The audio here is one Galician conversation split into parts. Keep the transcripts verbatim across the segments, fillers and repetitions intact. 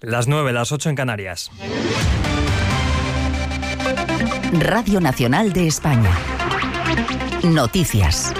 Las nueve, las ocho en Canarias. Radio Nacional de España. Noticias.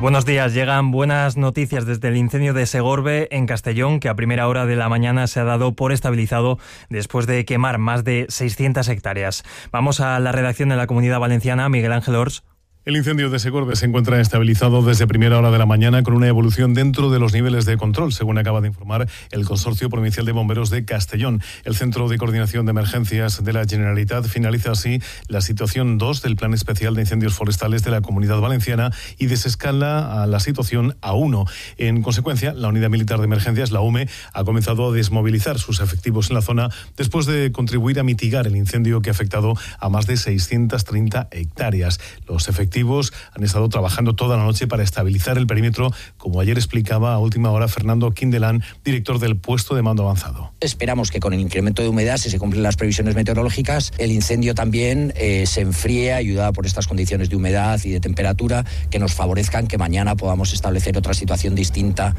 Buenos días, llegan buenas noticias desde el incendio de Segorbe en Castellón, que a primera hora de la mañana se ha dado por estabilizado después de quemar más de seiscientas hectáreas. Vamos a la redacción de la Comunidad Valenciana, Miguel Ángel Ors. El incendio de Segorbe se encuentra estabilizado desde primera hora de la mañana con una evolución dentro de los niveles de control, según acaba de informar el Consorcio Provincial de Bomberos de Castellón. El Centro de Coordinación de Emergencias de la Generalitat finaliza así la situación dos del Plan Especial de Incendios Forestales de la Comunidad Valenciana y desescala a la situación A uno. En consecuencia, la Unidad Militar de Emergencias, la U M E, ha comenzado a desmovilizar sus efectivos en la zona después de contribuir a mitigar el incendio que ha afectado a más de seiscientas treinta hectáreas. Los efectivos han estado trabajando toda la noche para estabilizar el perímetro, como ayer explicaba a última hora Fernando Quindelán, director del puesto de mando avanzado. Esperamos que con el incremento de humedad, si se cumplen las previsiones meteorológicas, el incendio también eh, se enfríe, ayudado por estas condiciones de humedad y de temperatura que nos favorezcan que mañana podamos establecer otra situación distinta.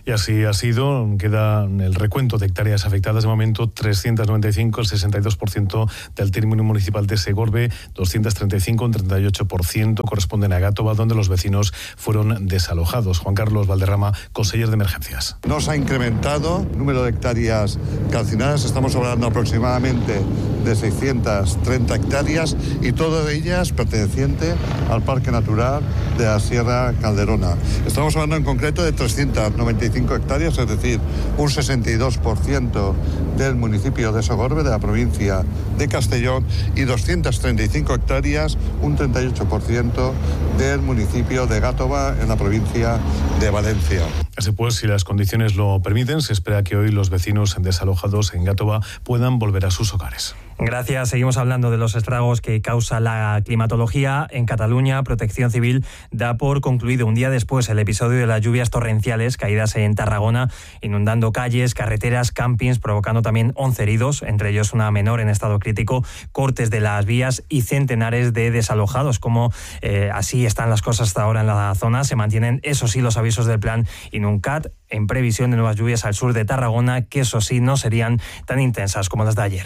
Y así ha sido. Queda el recuento de hectáreas afectadas de momento, trescientas noventa y cinco, el sesenta y dos por ciento del término municipal de Segorbe, doscientas treinta y cinco, un treinta y ocho por ciento corresponden a Gátova, donde los vecinos fueron desalojados. Juan Carlos Valderrama, conseller de Emergencias. No se ha incrementado el número de hectáreas calcinadas, estamos hablando aproximadamente de seiscientas treinta hectáreas y todas ellas pertenecientes al Parque Natural de la Sierra Calderona. Estamos hablando en concreto de trescientas noventa y cinco hectáreas, es decir, un sesenta y dos por ciento del municipio de Segorbe, de la provincia de Castellón, y doscientas treinta y cinco hectáreas, un treinta y ocho por ciento del municipio de Gátova, en la provincia de Valencia. Así pues, si las condiciones lo permiten, se espera que hoy los vecinos desalojados en Gátova puedan volver a sus hogares. Gracias. Seguimos hablando de los estragos que causa la climatología. En Cataluña, Protección Civil da por concluido un día después el episodio de las lluvias torrenciales caídas en Tarragona, inundando calles, carreteras, campings, provocando también once heridos, entre ellos una menor en estado crítico, cortes de las vías y centenares de desalojados. Como eh, así están las cosas hasta ahora en la zona, se mantienen, eso sí, los avisos del plan Inuncat en previsión de nuevas lluvias al sur de Tarragona, que eso sí no serían tan intensas como las de ayer.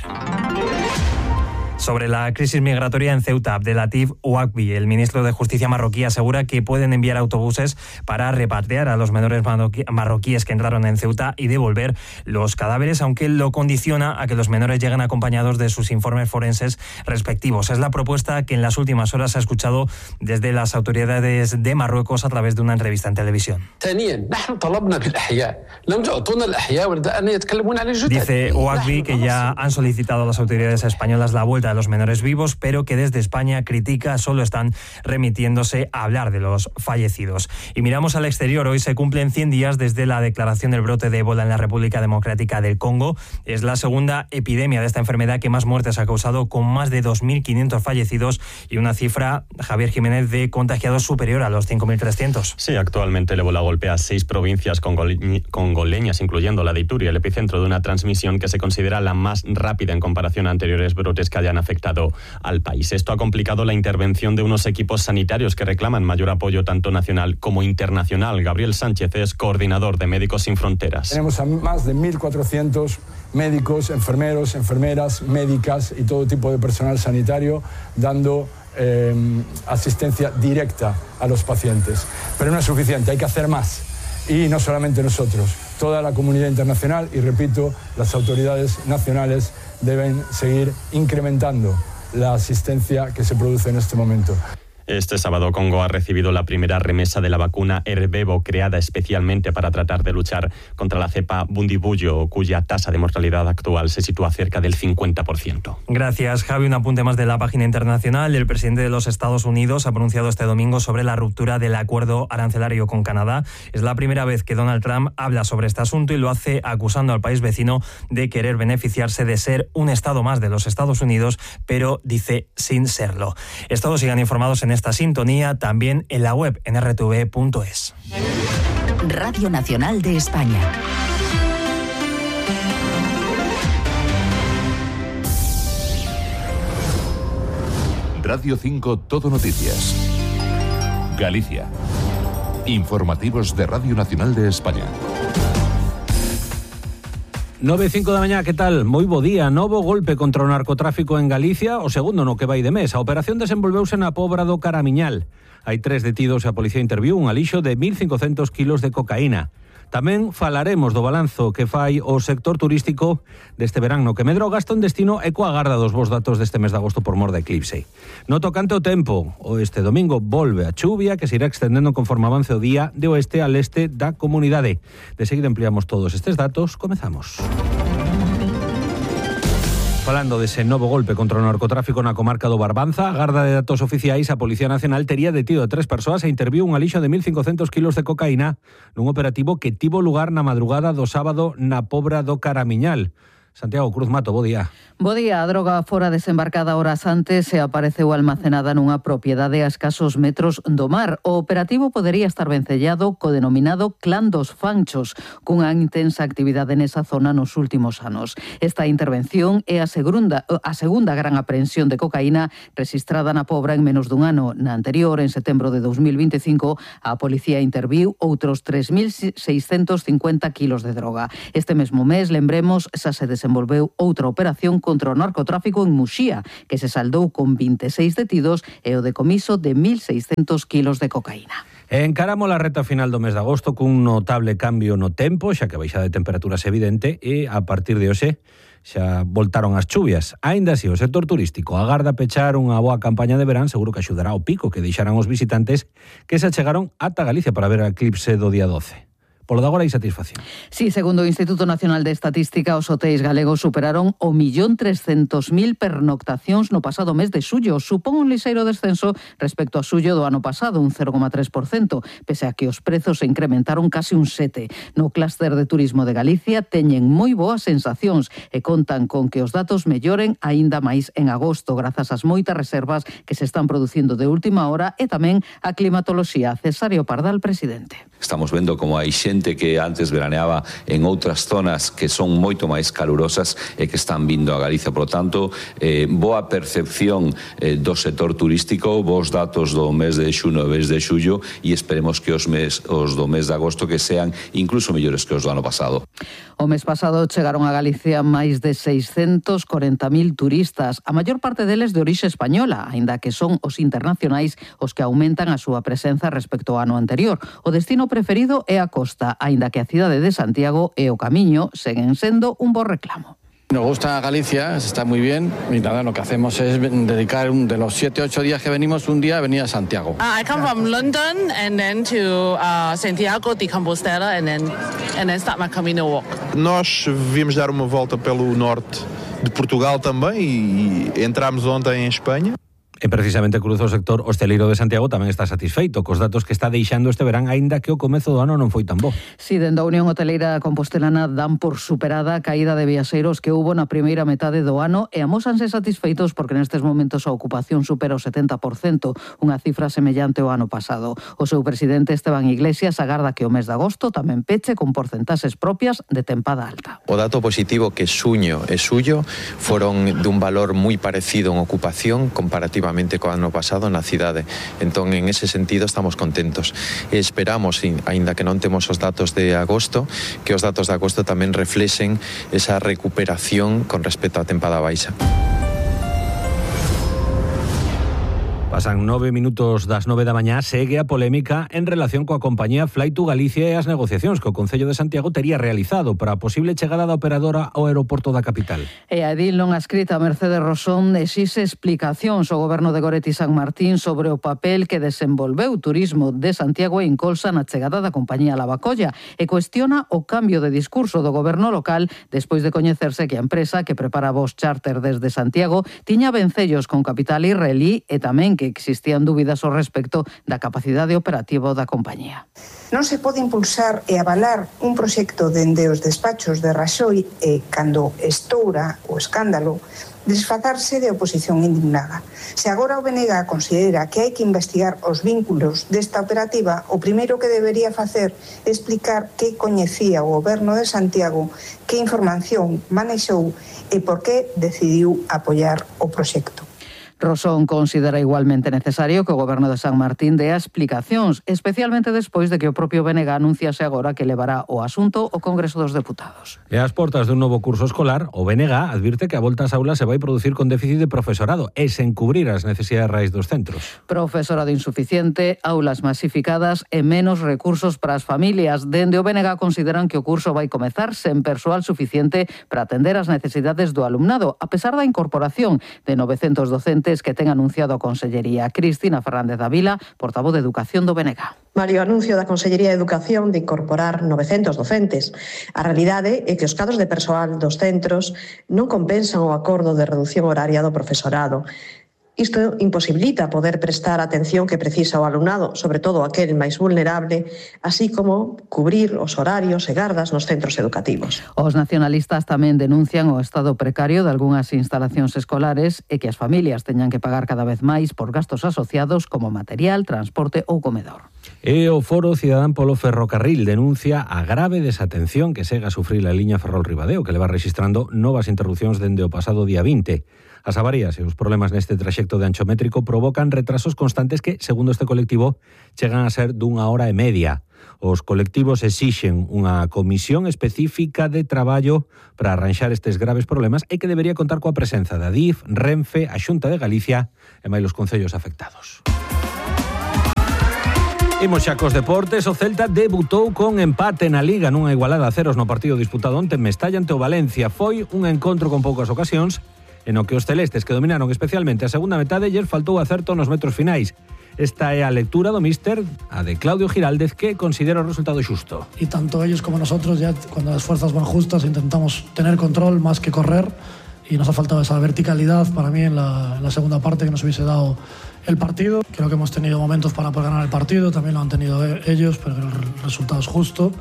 Sobre la crisis migratoria en Ceuta, Abdelatif Ouakbi, el ministro de Justicia marroquí, asegura que pueden enviar autobuses para repatriar a los menores marroquíes que entraron en Ceuta y devolver los cadáveres, aunque lo condiciona a que los menores lleguen acompañados de sus informes forenses respectivos. Es la propuesta que en las últimas horas se ha escuchado desde las autoridades de Marruecos a través de una entrevista en televisión. Dice Ouakbi que ya han solicitado a las autoridades españolas la vuelta de los menores vivos, pero que desde España critica solo están remitiéndose a hablar de los fallecidos. Y miramos al exterior. Hoy se cumplen cien días desde la declaración del brote de ébola en la República Democrática del Congo. Es la segunda epidemia de esta enfermedad que más muertes ha causado, con más de dos mil quinientos fallecidos y una cifra, Javier Jiménez, de contagiados superior a los cinco mil trescientos. Sí, actualmente el ébola golpea seis provincias congole- congoleñas, incluyendo la de Ituri, el epicentro de una transmisión que se considera la más rápida en comparación a anteriores brotes que hayan afectado al país. Esto ha complicado la intervención de unos equipos sanitarios que reclaman mayor apoyo tanto nacional como internacional. Gabriel Sánchez es coordinador de Médicos Sin Fronteras. Tenemos a más de mil cuatrocientos médicos, enfermeros, enfermeras, médicas y todo tipo de personal sanitario dando eh, asistencia directa a los pacientes. Pero no es suficiente, hay que hacer más. Y no solamente nosotros, toda la comunidad internacional y, repito, las autoridades nacionales deben seguir incrementando la asistencia que se produce en este momento. Este sábado Congo ha recibido la primera remesa de la vacuna Ervebo, creada especialmente para tratar de luchar contra la cepa Bundibugyo, cuya tasa de mortalidad actual se sitúa cerca del cincuenta por ciento. Gracias, Javi. Un apunte más de la página internacional. El presidente de los Estados Unidos ha pronunciado este domingo sobre la ruptura del acuerdo arancelario con Canadá. Es la primera vez que Donald Trump habla sobre este asunto y lo hace acusando al país vecino de querer beneficiarse de ser un estado más de los Estados Unidos, pero dice sin serlo. Todos sigan informados en esta sintonía, también en la web en erre te ve punto es. Radio Nacional de España. Radio cinco Todo Noticias. Galicia. Informativos de Radio Nacional de España. nove e cinco da mañá, que tal? Moi bo día. Novo golpe contra o narcotráfico en Galicia, o segundo no que vai de mes. A operación desenvolveuse na Pobra do Caramiñal. Hai tres detidos e a policía interviu un alixo de mil cincocentos kilos de cocaína. Tamén falaremos do balanzo que fai o sector turístico deste verán no que medrou gasto en destino e coa garda dos bons datos deste mes de agosto por mor de eclipse. No tocante o tempo, o este domingo volve a chuvia que se irá extendendo conforme avance o día de oeste a leste da comunidade. De seguida ampliamos todos estes datos, comezamos. Falando dese novo golpe contra o narcotráfico na comarca do Barbanza, a garda de datos oficiais, a Policía Nacional tería detido a tres persoas e interviu un alixo de mil cincocentos kilos de cocaína nun operativo que tivo lugar na madrugada do sábado na Pobra do Caramiñal. Santiago Cruz Mato, bo día. Bo día. A droga fora desembarcada horas antes e apareceu almacenada nunha propiedade a escasos metros do mar. O operativo podería estar vencellado co denominado Clan dos Fanchos, cunha intensa actividade nesa zona nos últimos anos. Esta intervención é a segunda, a segunda gran aprehensión de cocaína registrada na Pobra en menos dun ano. Na anterior, en setembro de dos mil vinte e cinco, a policía interviu outros tres mil seiscentos cincuenta kilos de droga. Este mesmo mes, lembremos, xa se desenvolveu desenvolveu outra operación contra o narcotráfico en Muxía, que se saldou con vinte e seis detidos e o decomiso de mil seiscentos kilos de cocaína. Encaramos a reta final do mes de agosto cun notable cambio no tempo, xa que a baixada de temperaturas é evidente e a partir de hoxe xa voltaron as chuvias. Aínda así, o sector turístico agarda pechar unha boa campaña de verán, seguro que axudará ao pico que deixarán os visitantes que se achegaron ata Galicia para ver o eclipse do día doce. Polo de agora hai satisfacción. Sí, segundo o Instituto Nacional de Estatística, os hotéis galegos superaron o millón trescentos mil pernoctacións no pasado mes de xullo. Supón un lixeiro descenso respecto a xullo do ano pasado, un cero coma tres por cento, pese a que os prezos se incrementaron casi un sete por cento. No clúster de turismo de Galicia teñen moi boas sensacións e contan con que os datos melloren aínda máis en agosto, grazas ás moitas reservas que se están producindo de última hora e tamén a climatoloxía. Cesario Pardal, presidente. Estamos vendo como hai xente que antes veraneaba en outras zonas que son moito máis calurosas e que están vindo a Galicia. Por lo tanto, eh, boa percepción eh, do sector turístico, bons datos do mes de xuno e mes de xullo e esperemos que os, mes, os do mes de agosto que sean incluso mellores que os do ano pasado. O mes pasado chegaron a Galicia máis de seiscentos corenta mil turistas, a maior parte deles de orixe española, aínda que son os internacionais os que aumentan a súa presenza respecto ao ano anterior. O destino preferido é a costa, aínda que a cidade de Santiago e o Camiño seguen sendo un bo reclamo. Nos gusta Galicia, está muy bien y nada, lo que hacemos es dedicar un, de los siete ocho días que venimos, un día a venir a Santiago. Uh, I come from London and then to uh, Santiago de Compostela and then, and then start my Camino walk. Nós viemos dar uma volta pelo norte de Portugal também e entramos ontem em Espanha. E precisamente cruzo o sector hosteleiro de Santiago tamén está satisfeito cos datos que está deixando este verán, aínda que o comezo do ano non foi tan bo. Si, dende a Unión Hoteleira Compostelana dan por superada a caída de viaxeiros que hubo na primeira metade do ano e amósanse satisfeitos porque nestes momentos a ocupación supera o setenta por cento, unha cifra semellante ao ano pasado. O seu presidente Esteban Iglesias agarda que o mes de agosto tamén peche con porcentaxes propias de tempada alta. O dato positivo que xuño e xullo foron dun valor moi parecido en ocupación comparativa co ano pasado na cidade. Entón, en ese sentido, estamos contentos. E esperamos, aínda que non temos os datos de agosto, que os datos de agosto tamén reflexen esa recuperación con respecto á tempada baixa. Pasan nove minutos das nove da mañá, segue a polémica en relación coa compañía Fly to Galicia e as negociacións que o Concello de Santiago tería realizado para a posible chegada da operadora ao aeroporto da capital. E a edil non escrita Mercedes Rosón exixe explicacións ao goberno de Goretti San Martín sobre o papel que desenvolveu o turismo de Santiago e Incolsa na chegada da compañía Lavacolla e cuestiona o cambio de discurso do goberno local despois de coñecerse que a empresa que prepara voos charter desde Santiago tiña vencellos con capital israelí e tamén que existían dúbidas ao respecto da capacidade operativa da compañía. Non se pode impulsar e avalar un proxecto dende os despachos de Raxoi e, cando estoura o escándalo, desfazarse de oposición indignada. Se agora o B N G considera que hai que investigar os vínculos desta operativa, o primeiro que debería facer é explicar que coñecía o goberno de Santiago, que información manexou e por que decidiu apoiar o proxecto. Rosón considera igualmente necesario que o Goberno de San Martín dea explicacións, especialmente despois de que o propio B N G anunciase agora que levará o asunto ao Congreso dos Deputados. E ás portas dun novo curso escolar, o B N G advirte que a volta ás aulas se vai producir con déficit de profesorado e sen cubrir as necesidades reais dos centros. Profesorado insuficiente, aulas masificadas e menos recursos para as familias. Dende o B N G consideran que o curso vai comezar sen persoal suficiente para atender as necesidades do alumnado, a pesar da incorporación de novecentos docentes que ten anunciado a Consellería. Cristina Fernández Davila, portavoz de Educación do B N G. Mario anuncio da Consellería de Educación de incorporar novecentos docentes. A realidade é que os cadros de persoal dos centros non compensan o acordo de reducción horaria do profesorado. Isto imposibilita poder prestar a atención que precisa o alumnado, sobre todo aquel máis vulnerable, así como cubrir os horarios e gardas nos centros educativos. Os nacionalistas tamén denuncian o estado precario de algunhas instalacións escolares e que as familias teñan que pagar cada vez máis por gastos asociados como material, transporte ou comedor. E o Foro Cidadán polo Ferrocarril denuncia a grave desatención que segue a sufrir a liña Ferrol-Ribadeo, que leva registrando novas interrupcións dende o pasado día vinte. As avarías e os problemas neste traxecto de ancho métrico provocan retrasos constantes que, segundo este colectivo, chegan a ser dunha hora e media. Os colectivos exixen unha comisión específica de traballo para arranxar estes graves problemas e que debería contar coa presenza da D I F, Renfe, a Xunta de Galicia e máis os concellos afectados. Imos xa cos deportes. O Celta debutou con empate na Liga nunha igualada a ceros no partido disputado onte en Mestalla ante o Valencia. Foi un encontro con poucas ocasións en o que os celestes, que dominaron especialmente a segunda metade, lles faltou acerto nos metros finais. Esta é a lectura do míster, a de Claudio Giraldez, que considera o resultado xusto. Y tanto ellos como nosotros, ya cuando las fuerzas van justas, intentamos tener control más que correr, y nos ha faltado esa verticalidad para mí en la, en la segunda parte que nos hubiese dado el partido. Creo que hemos tenido momentos para poder ganar el partido, también lo han tenido ellos, pero el resultado es justo.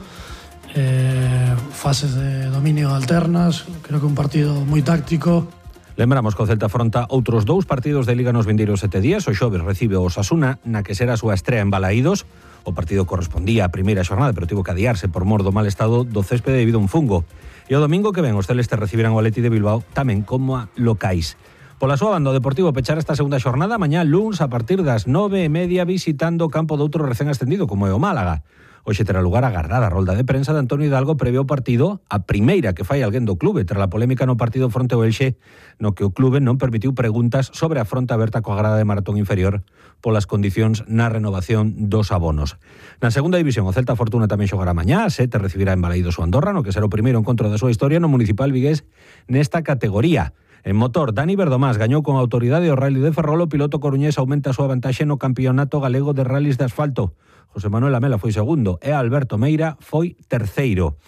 Eh, fases de dominio alternas, creo que un partido muy táctico. Lembramos que o Celta afronta outros dous partidos de Liga nos vindeiros sete días. O xoves recibe o Osasuna, na que será a súa estrea en Balaídos. O partido correspondía á primeira xornada, pero tivo que adiarse por mor do mal estado do céspede debido a un fungo. E o domingo que ven os celestes recibirán o Atleti de Bilbao tamén como a locais. Pola súa banda, o Deportivo pechar esta segunda xornada mañá luns a partir das nove e media visitando o campo de outro recén ascendido como é o Málaga. Hoxe terá lugar a agardada rolda de prensa de Antonio Hidalgo previo ao partido, a primeira que fai alguén do clube tras a polémica no partido fronte ao Elxe, no que o clube non permitiu preguntas sobre a fronte aberta coa grada de maratón inferior polas condicións na renovación dos abonos. Na segunda división, o Celta Fortuna tamén xogará mañá, a sete recibirá en Balaídos o Andorra, no que será o primeiro encontro da súa historia no municipal vigués nesta categoría. En motor, Dani Verdomás gañou con autoridade o Rally de Ferrol. O piloto coruñés aumenta a súa vantaxe no campeonato galego de rallies de asfalto. José Manuel Amela foi segundo e Alberto Meira foi terceiro.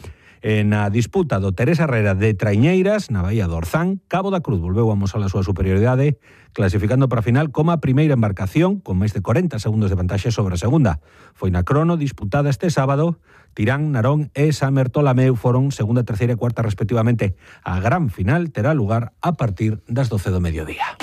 En a disputa do Teresa Herrera de Traiñeiras, na Baía do Orzán, Cabo da Cruz volveu a amosar a súa superioridade, clasificando para a final como a primeira embarcación, con máis de corenta segundos de vantaxe sobre a segunda. Foi na crono disputada este sábado. Tirán, Narón e San Bertolameu foron segunda, terceira e cuarta respectivamente. A gran final terá lugar a partir das doce do mediodía.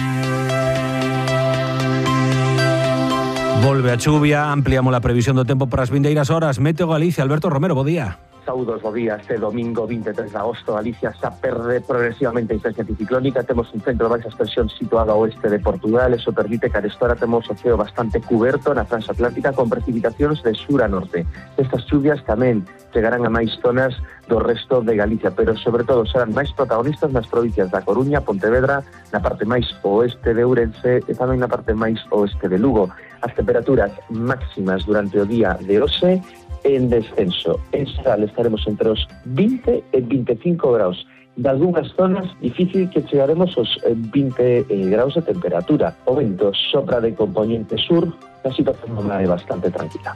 Volve a chuvia, ampliamos a previsión do tempo para as vindeiras horas. Meteo Galicia, Alberto Romero, bo día. Saúdos, bo día. Este domingo vinte e tres de agosto, Galicia xa perde progresivamente a influencia anticiclónica. Temos un centro de baixa extensión situado ao oeste de Portugal. Eso permite que arestora temos o ceo bastante cuberto na franxa atlántica con precipitacións de sur a norte. Estas chuvias tamén chegarán a máis zonas do resto de Galicia, pero sobre todo serán máis protagonistas nas provincias da Coruña, Pontevedra, na parte máis oeste de Ourense e tamén na parte máis oeste de Lugo. As temperaturas máximas durante o día de hoxe en descenso. En Sal estaremos entre os vinte e vinte e cinco graus. De algunhas zonas difícil que chegaremos aos vinte graus de temperatura. O vento sopra de componente sur, a situación non é bastante tranquila.